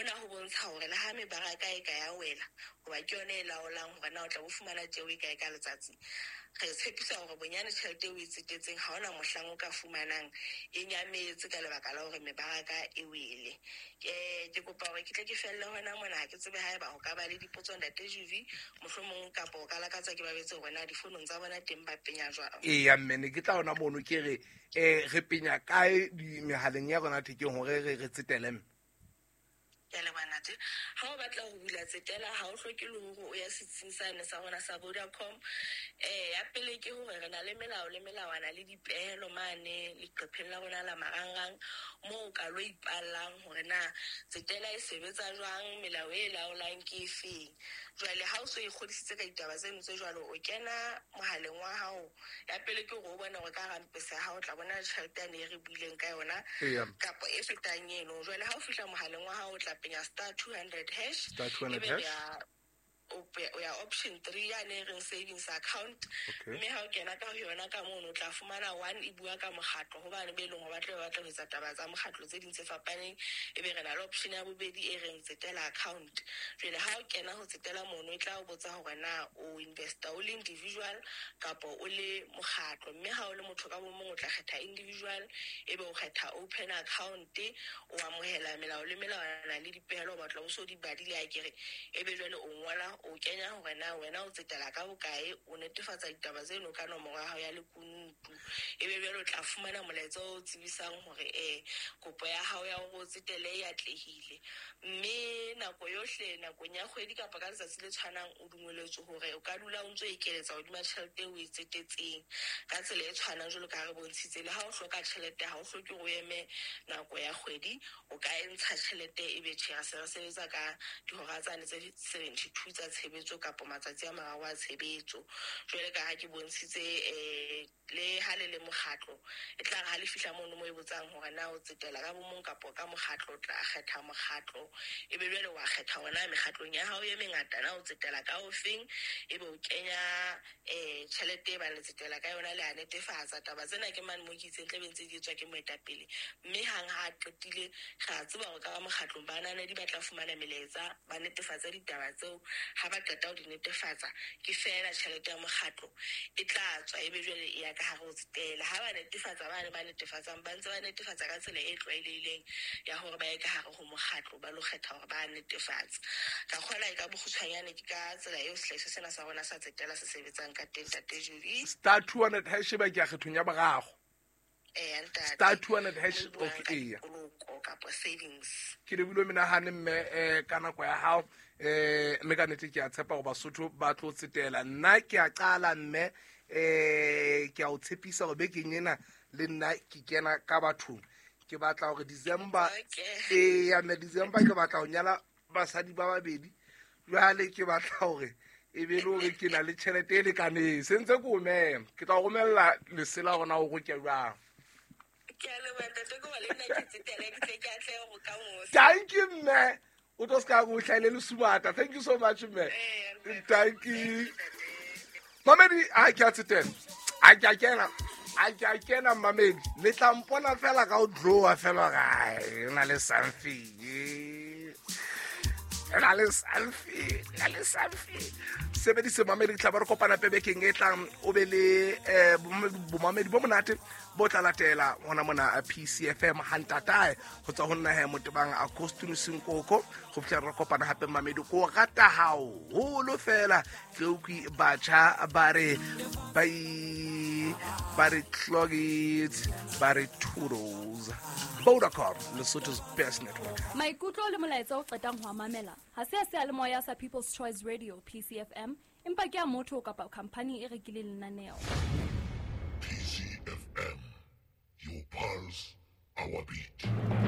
Hona ho bontsha hore le ha mebaraka e ka ya wela, hoba ke yona e laolang hore na o tla bo fumana tjeo e kae ka letsatsi, re tshepisa hore bonyane tjhelete eo o e tsetetseng ha hona mohlang o ka fumanang e nyametse ka lebaka la hore mebaraka e wele. Ke kopa hore ke tle ke felle hona mona, ha ke tsebe haeba ho ka ba le dipotso ntate Juvi, mohlomong kapa o ka lakatsa ke ba betse hore na difonong tsa bona teng ba penya jwang. Eya mme, ne ke tla hona mono ke re re penya kae mehaleng ya rona thekeng hore re tsetele mme? Ke a leboha ntate. Ha o batla ho bula tsetela, ha o hloke le hore o ya setsing sane sa rona sa Vodacom. Ya pele ke hore re na le melao le melawana le dipehelo mane leqepheng la rona la marangrang, moo o ka lo ipallang hore na tsetela e sebetsa jwang, melao e laolang ke efeng. Jwale ha o so ikgodisitse ka ditaba tseno tse jwalo, o kena mohaleng wa hao. Ya pele ke hore o bone hore ka hara mpesa ya hao o tla bona tjhelete yane e re buileng ka yona, kapa e fetang eno. Jwale ha o fihla mohaleng wa hao o tla penya *200#, Star two hundred ebe hash. O ya option 3 yane e reng savings account. Mme ha o kena ka ho yona ka mono o tla fumana 1 e bua ka mokgatlo, hobane be leng hore ba tla be ba batla ho etsa taba tsa mokgatlo tse ding tse fapaneng. Ebe re na le option ya bobedi e reng tsetela account. Jwale ha o kena ho tsetela mono e tla o botsa hore na o investor o le individual kapa o le mokgatlo. Mme ha o le motho ka bo mong o tla kgetha individual, ebe o kgetha open account, o amohela melao le melawana le dipehelo, o batla o so di badile akere. Ebe jwale o ngola, o kenya hore na wena o tsetela ka bokae, o netefatsa ditaba tseno ka nomoro ya hao ya lekunutu. Ebe jwale o tla fumana molaetsa o tsebisang hore kopo ya hao ya hore o tsetele e atlehile. Mme nako yohle, nakong ya kgwedi kapa ka letsatsi le tshwanang, o dumelletswe hore o ka dula o ntso ekeletsa hodima tjhelete eo o e tsetetseng ka tsela e tshwanang jwalo ka ha re bontshitse. Le ha o hloka tjhelete, ha o hloke hore o eme nako ya kgwedi, o ka e ntsha tjhelete ebe tjhe, re se re sebetsa ka dihora tsane tse 72 tsa tshebetso kapa matsatsi a mararo a tshebetso. Jwale ka ha ke bontshitse, le ha le le mokgatlo, e tla re ha le fihla mono mo e botsang hore na o tsetela ka bo mong kapa ka mokgatlo, o tla kgetha mokgatlo. Ebe jwale wa kgetha hore na mekgatlong ya hao e mengata na o tsetela ka ofeng, ebe o kenya tjhelete e bang le tsetela ka yona, le a netefatsa. Taba tsena ke mane mo ke itseng tla be ntse di etswa ke moetapele, mme hang ha a qetile re a tseba hore ka mokgatlong bananedi ba tla fumana melaetsa, ba netefatse ditaba tseo. Ha ba qeta ho di netefatsa, ke feela tjhelete ya mokgatlo e tla tswa, ebe jwale e ya ka hare ho tsetela. Ha ba netefatsa, ba ne ba netefatsang ba ntse ba netefatsa ka tsela e tlwaelehileng ya hore ba ye ka hare ho mokgatlo, ba lo kgetha hore ba netefatse. Ka kgola e ka bokgutshwanyane ke ka tsela eo sehlahiswa sena sa rona sa tsetela se sebetsang ka teng, Ntate Julie. *200# ba ke ya kgethong ya boraro. Ntate. *200#, Mo buang okay, ka eya. poloko kapa savings. Ke lebile menahane mme, ka nako ya hao, mme ka nnete ke a tshepa hore Basotho ba tlo tsetela. Nna ke a qala mme, ke a o tshepisa hore bekeng ena le nna ke kena ka bathong. Ke batla hore December, eya mme, December ke batla ho nyala basadi ba babedi. Jwale ke batla hore e be le hore ke na le tjhelete e lekaneng. Se ntse ke o mema, ke tla o romella lesela hore na o roke jwang. Ke a leboha ntate, ke hore le nna ke tsetele, ke tle ke atlehe ho ka mosa. Thank you mme. O tlo ska go hlaile le sumata. Thank you so much mme. Ntate. Thank you. Mamedi, ha ke a tsetela. Ha ke a kena. Ha ke a kena mamedi. Le tla mpona fela ka o draw fela ga e na le something. E na le something, e na le something. Sebedise mamedi, tla ba re kopana pebekeng e tlang, o be le, bomamedi bo monate bo tla latela hona mona PCFM ha ntatae ho tswa ho nna he Motebang Agostino Senkoko. Ho fihla re kopana hape mamedi, ko rata haholo fela. Ke utlwe batjha ba re bye, ba re clog it, ba re toodles. Vodacom, Lesotho's best network. Maikutlo le molaetsa o qetang ho a mamela ha se a seyalemoya sa People's Choice Radio PCFM, empa ke a motho kapa khampani e rekileng lenaneo. PCFM, your pulse, our beat.